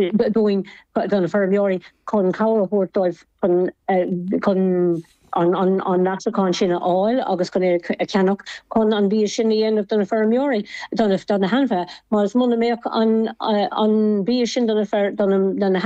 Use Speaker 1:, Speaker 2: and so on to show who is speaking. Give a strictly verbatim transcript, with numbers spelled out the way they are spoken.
Speaker 1: dúinn do na feirmeoirí chun cabhair a thabhairt dóibh chun chun an an an leasachán sin a fháil agus chun é a cheannach chun an bia sin a dhéanamh do na feirmeoirí do na hainmhithe, mar is muna mbeadh an an bia sin do na do na